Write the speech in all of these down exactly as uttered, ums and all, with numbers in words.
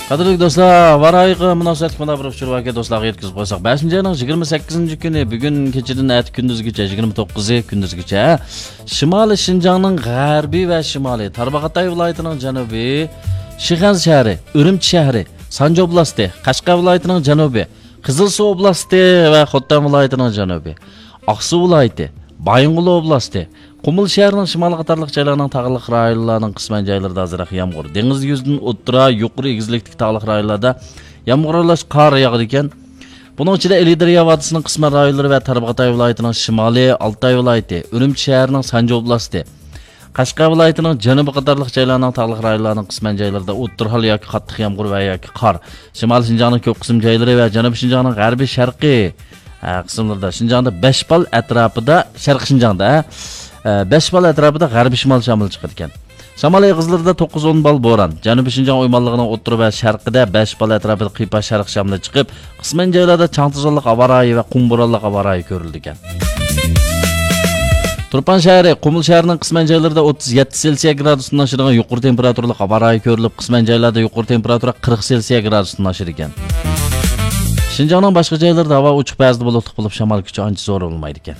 قەدىرلىك دوستلار، ھاۋا رايىغا مۇناسىۋەتلىك مۇنداق بىر ئۇچۇر باركەن، دوستلارغا يەتكۈزۈپ قويساق. بەشىنچى ئاينىڭ يىگىرمە سەككىزىنچى كۈنى، بۈگۈن كېچىدىن ئەتە كۈندۈزگىچە، يىگىرمە توققۇزى كۈندۈزگىچە شىمالىي شىنجاڭنىڭ غەربىي ۋە شىمالىي، تارباغاتاي ۋىلايىتىنىڭ جەنۇبى، شىخەنزە شەھىرى، ئۈرۈمچى شەھىرى، سانجى ئوبلاستى، قەشقەر ۋىلايىتىنىڭ جەنۇبى، قىزىلسۇ ئوبلاستى ۋە خوتەن ۋىلايىتىنىڭ جەنۇبى، ئاقسۇ ۋىلايىتى، بايىنغولى ئوبلاستى، قۇمۇل شەھىرىنىڭ شىمالىي قاتارلىق جايلارنىڭ تاغلىق رايونلارنىڭ قىسمەن جايلىرىدا ئازراق يامغۇر، دېڭىز يۈزىدىن ئوتتۇرا، يۇقىرى ئېگىزلىكتىكى تاغلىق رايونلاردا يامغۇر ئارىلاش قار ياغىدىكەن. بۇنىڭ ئىچىدە ئىلى دەريا ۋادىسىنىڭ قىسمەن رايونلىرى ۋە تارباغاتاي ۋىلايىتىنىڭ شىمالى، ئالتاي ۋىلايىتى، ئۈرۈمچى شەھىرىنىڭ سانجى ئوبلاستى، قەشقەر ۋىلايىتىنىڭ جەنۇبى قاتارلىق جايلارنىڭ تاغلىق رايونلارنىڭ قىسمەن جايلىرىدا ئوتتۇرا ھال ياكى قاتتىق يامغۇر ۋە ياكى قار، شىمالىي شىنجاڭنىڭ كۆپ قىسىم جايلىرى ۋە جەنۇبىي شىنجاڭنىڭ غەربىي شەرقىي، ئە، قىسىملىرىدا، شىنجاڭدا بەش بال ئەتراپىدا، شەرقىي شىنجاڭدا، ئە، بەش بال ئەتراپىدا غەربىي شىمال شامىلى چىقىدىكەن. شامال ئېغىزلىرىدا توققۇز ئون بال بوران، جەنۇبىي شىنجاڭ ئويمانلىقىنىڭ ئوتتۇرا ۋە شەرقىدە بەش بال ئەتراپىدا قىيپاش شەرقىي شامىلى چىقىپ، قىسمەن جايلاردا چاڭ توزانلىق ھاۋا رايى ۋە قۇم بورانلىق ھاۋا رايى كۆرۈلىدىكەن. تۇرپان شەھىرى، قۇمۇل شەھىرىنىڭ قىسمەن جايلىرىدا ئوتتۇز يەتتە سېلسىيە گرادۇستىن ئاشىدىغان يۇقىرى تېمپېراتۇرىلىق ھاۋا رايى كۆرۈلۈپ، قىسمەن جايلاردا يۇقىرى تېمپېراتۇرا قىرىق سېلسىيە گرادۇستىن ئاشىدىكەن. شىنجاڭنىڭ باشقا جايلىرىدا ھاۋا ئوچۇق، بەزىدە بۇلۇتلۇق بولۇپ، شامال كۈچى ئانچە زور بولمايدىكەن.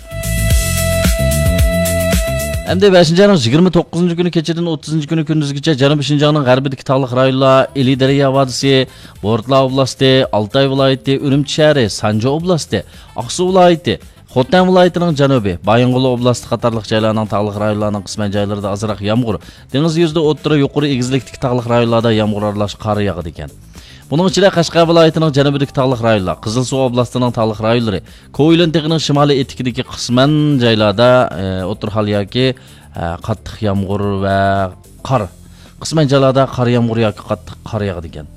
ئەمدى بەشىنچى ئاينىڭ يىگىرمە توققۇزىنچى كۈنى كېچىدىن ئوتتۇزىنچى كۈنى كۈندۈزگىچە جەنۇبىي شىنجاڭنىڭ غەربىدىكى تاغلىق رايونلار، ئىلى دەريا ۋادىسى، بورتلا ئوبلاستى، ئالتاي ۋىلايىتى، ئۈرۈمچى شەھىرى، سانجى ئوبلاستى، ئاقسۇ ۋىلايىتى، خوتەن ۋىلايىتىنىڭ جەنۇبى، بايىنغولى ئوبلاستى قاتارلىق جايلارنىڭ تاغلىق رايونلارنىڭ قىسمەن جايلىرىدا ئازراق يامغۇر، دېڭىز يۈزىدە ئوتتۇرا، يۇقىرى ئېگىزلىكتىكى تاغلىق رايونلاردا يامغۇر ئارىلاش قار ياغىدىكەن. بۇنىڭ ئىچىدە قەشقەر ۋىلايىتىنىڭ جەنۇبىدىكى تاغلىق رايونلار، قىزىلسۇ ئوبلاستىنىڭ تاغلىق رايونلىرى، كوئىلىن تېغىنىڭ شىمالىي ئېتىكىدىكى قىسمەن جايلاردا، ئە، ئوتتۇرا ھال ياكى، ئە، قاتتىق يامغۇر ۋە قار، قىسمەن جايلاردا قار يامغۇر ياكى قاتتىق قار ياغىدىكەن.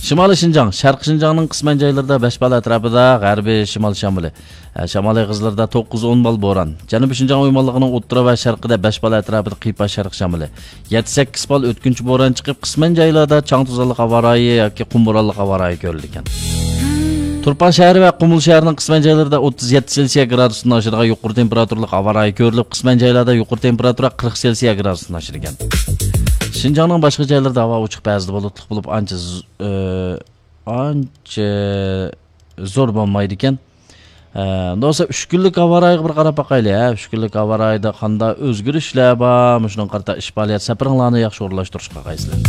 شىمالىي شىنجاڭ، شەرقىي شىنجاڭنىڭ قىسمەن جايلىرىدا بەش بال ئەتراپىدا غەربىي شىمال شامىلى، ئە، شامال ئېغىزلىرىدا توققۇز ئون بال بوران، جەنۇبىي شىنجاڭ ئويمانلىقىنىڭ ئوتتۇرا ۋە شەرقىدە بەش بال ئەتراپىدا قىيپاش شەرقىي شامىلى، يەتتە سەككىز بال ئۆتكۈنچى بوران چىقىپ، قىسمەن جايلاردا چاڭ توزانلىق ھاۋا رايى ياكى قۇم بورانلىق ھاۋا رايى كۆرۈلىدىكەن. تۇرپان شەھىرى ۋە قۇمۇل شەھىرىنىڭ قىسمەن جايلىرىدا ئوتتۇز يەتتە سېلسىيە گرادۇستىن ئاشىدىغان يۇقىرى تېمپېراتۇرىلىق ھاۋا رايى كۆرۈلۈپ، قىسمەن جايلاردا يۇقىرى تېمپېراتۇرا قىرىق سېلسىيە گرادۇستىن ئاشىدىكەن. شىنجاڭنىڭ باشقا جايلىرىدا ھاۋا ئوچۇق، بەزىدە بۇلۇتلۇق بولۇپ، ئانچە ز-، ئانچە زور بولمايدىكەن. ئە، دوستلار، ئۈچ كۈنلۈك ھاۋا رايىغا بىر قاراپ باقايلى، ھە. ئۈچ كۈنلۈك ھاۋا رايىدا قانداق ئۆزگىرىشلەر بار؟ مۇشۇنىڭغا قارىتا ئىش پائالىيەت سەپىرىڭلارنى ياخشى ئورۇنلاشتۇرۇشقا قايسىلەر؟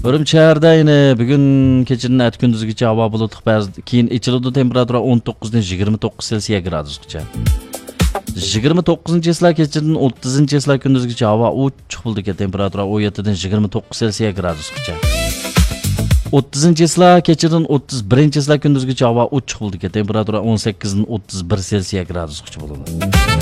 ئۈرۈمچى شەھىرىدە يەنە بۈگۈن كېچىدىن ئەتە كۈندۈزگىچە ھاۋا بۇلۇتلۇق، بەزى كېيىن ئېچىلىدۇ، تېمپېراتۇرا ئون توققۇزدىن يىگىرمە توققۇز سېلسىيە گرادۇسقىچە. يىگىرمە توققۇزىنچى چىسلا كېچىدىن ئوتتۇزىنچى چىسلا كۈندۈزگىچە ھاۋا ئوچۇق بولىدىكەن، تېمپېراتۇرا ئون يەتتىدىن يىگىرمە توققۇز سېلسىيە گرادۇسقىچە. ئوتتۇزىنچى چىسلا كېچىدىن ئوتتۇز بىرىنچى چىسلا كۈندۈزگىچە ھاۋا ئوچۇق بولىدىكەن، تېمپېراتۇرا ئون سەككىزدىن ئوتتۇز بىر سېلسىيە گرادۇسقىچە بولىدۇ.